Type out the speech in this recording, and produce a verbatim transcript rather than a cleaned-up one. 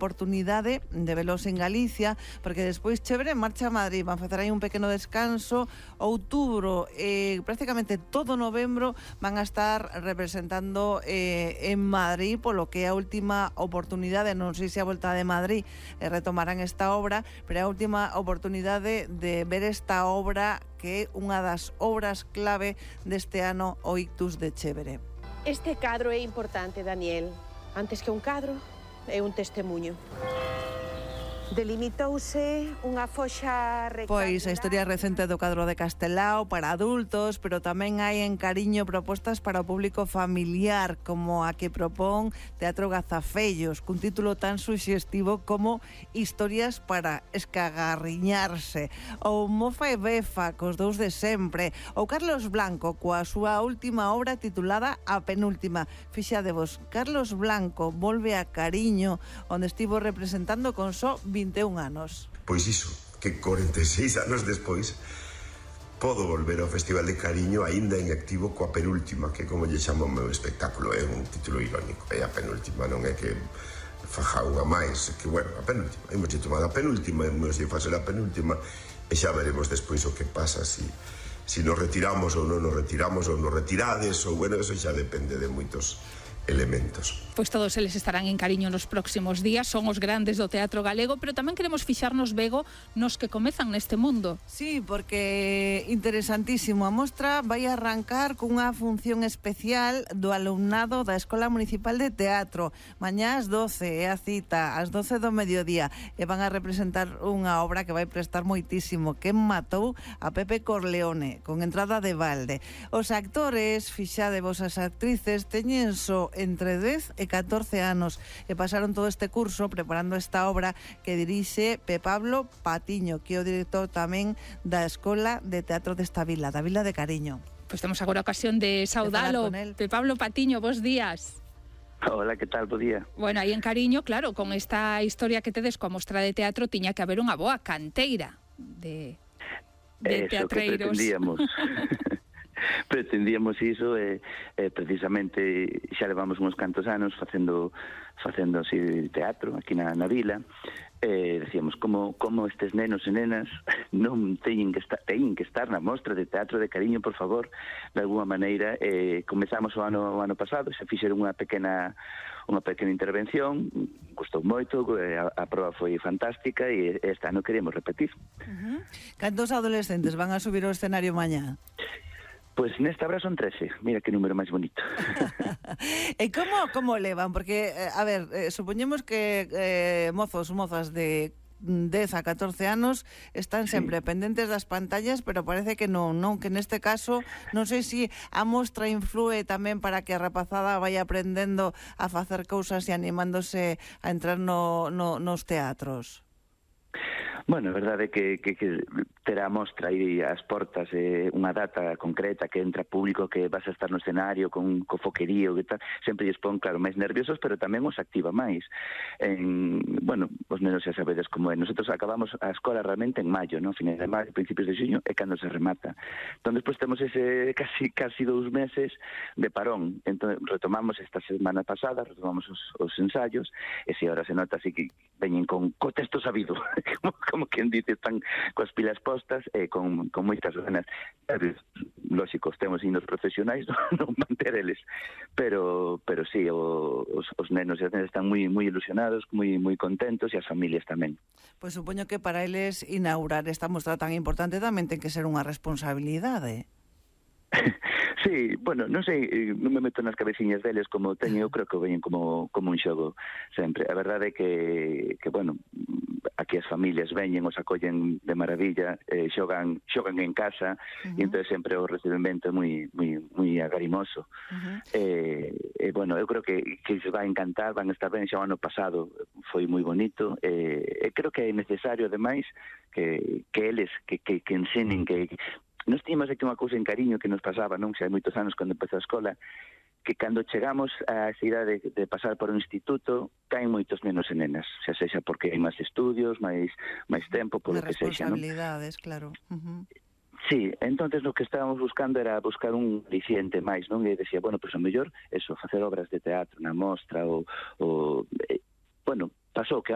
oportunidade de velos en Galicia, porque despois Chévere marcha a Madrid, van facer aí un pequeno descanso. Outubro e eh, prácticamente todo novembro van a estar representando eh, en Madrid, polo que é a última oportunidade, non sei se a volta de Madrid eh, retomarán esta obra, pero é a última oportunidade de ver esta obra que é unha das obras clave deste ano, o Ictus de Chévere. Este cadro é importante, Daniel. Antes que un cadro, é un testemunho. Delimitouse unha foxa rectangular. Pois a historia recente do cadro de Castelao para adultos, pero tamén hai en Cariño propostas para o público familiar, como a que propón Teatro Gazafellos, cun título tan suxestivo como Historias para escagarriñarse, ou Mofa e Befa, cos dous de sempre, ou Carlos Blanco, coa súa última obra titulada A Penúltima. Fixadevos, Carlos Blanco volve a Cariño, onde estivo representando con só vinte e un anos. Pois iso, que corenta e seis anos despois podo volver ao Festival de Cariño aínda en activo coa Penúltima, que como lle chamo o meu espectáculo, é un título irónico, é a penúltima, non é que faja unha máis, que bueno, a penúltima, hemos tomado a penúltima, hemos de facer a penúltima e xa veremos despois o que pasa, si, si nos retiramos ou non nos retiramos ou nos retirades, ou bueno, eso xa depende de moitos elementos. Pois todos eles estarán en Cariño nos próximos días, son os grandes do teatro galego, pero tamén queremos fixarnos, Bego, nos que comezan neste mundo. Sí, porque interesantísimo. A mostra vai arrancar cunha función especial do alumnado da Escola Municipal de Teatro. Mañá ás doce é a cita, ás doce do mediodía, e van a representar unha obra que vai prestar moitísimo, que matou a Pepe Corleone, con entrada de balde. Os actores, fixadevos, as actrices, teñen só entre dez e catorce anos e pasaron todo este curso preparando esta obra que dirixe Pe Pablo Patiño, que é o director tamén da Escola de Teatro desta vila, da Vila de Cariño. Pois temos agora a ocasión de saudalo. Pe Pablo Patiño, bos días. Hola, que tal? Bo día. Bueno, aí en Cariño, claro, con esta historia que tedes coa mostra de teatro, tiña que haber unha boa canteira de, de Eso teatreiros. Que pretendíamos. pretendíamos iso e eh, eh, precisamente xa levamos uns cantos anos facendo facendo así teatro aquí na, na vila. Eh, decíamos como como estes nenos e nenas non teñen que estar teñen que estar na mostra de Teatro de Cariño, por favor, de alguma maneira. Eh, comezamos o ano o ano pasado, xa fixeron unha pequena unha pequena intervención, gustou moito, a, a proba foi fantástica e este ano queremos repetir. Uh-huh. Cantos adolescentes van a subir ao escenario mañá? Pois nesta obra son trece, mira que número máis bonito. E como como levan? Porque, eh, a ver, eh, supoñemos que eh, mozos, mozas de dez a catorce anos están sempre sí. pendentes das pantallas, pero parece que non, non, que neste caso non sei se a mostra influe tamén para que a rapazada vai aprendendo a facer cousas e animándose a entrar no, no, nos teatros. Bueno, a verdade é que, que, que terá a mostra aí as portas eh, unha data concreta que entra público, que vas a estar no escenario con, co foquerío, que tal, sempre lles pon, claro, máis nerviosos, pero tamén os activa máis. En, bueno, os nenos xa sabedes como é. Nosotros acabamos a escola realmente en maio, non? Finais de maio, principios de xuño, é cando se remata. Entón, despois temos ese casi casi dous meses de parón. Entón, retomamos esta semana pasada, retomamos os, os ensayos, e se ahora se nota así que veñen con co texto sabido, como, como quen dice, están coas pilas postas e con, con moitas ganas. Lógico, temos inos profesionais, non, non manter eles, pero pero sí, o, os, os nenos e as nenas están moi moi ilusionados, moi moi contentos, e as familias tamén. Pois supoño que para eles inaugurar esta mostra tan importante tamén ten que ser unha responsabilidade. Sí, bueno, non sei, non me meto nas cabeciñas deles como teño, eu creo que veñen como, como un xogo sempre. A verdade é que, que bueno, aquí as familias veñen, os acollen de maravilla, eh, xogan, xogan en casa, uh-huh. e entón sempre o recibimento é moi, moi, moi agarimoso. Uh-huh. Eh, eh, bueno, eu creo que, que se vai encantar, van a estar ben, xa o ano pasado foi moi bonito, e eh, creo que é necesario, ademais, que, que eles, que, que, que ensenen, que nos tínhamos aquí unha cousa en Cariño que nos pasaba, non? Xa hai moitos anos cando empezou a escola, que cando chegamos a esa idade de, de pasar por un instituto, caen moitos nenos e nenas, xa sexa porque hai máis estudios, máis máis tempo, polo que sexa, non? Responsabilidades, claro. Uh-huh. Sí, entonces lo que estábamos buscando era buscar un aliciente máis, non? E decía, bueno, pois pues, a mellor, eso, facer obras de teatro na mostra, ou, ou eh, bueno, pasou que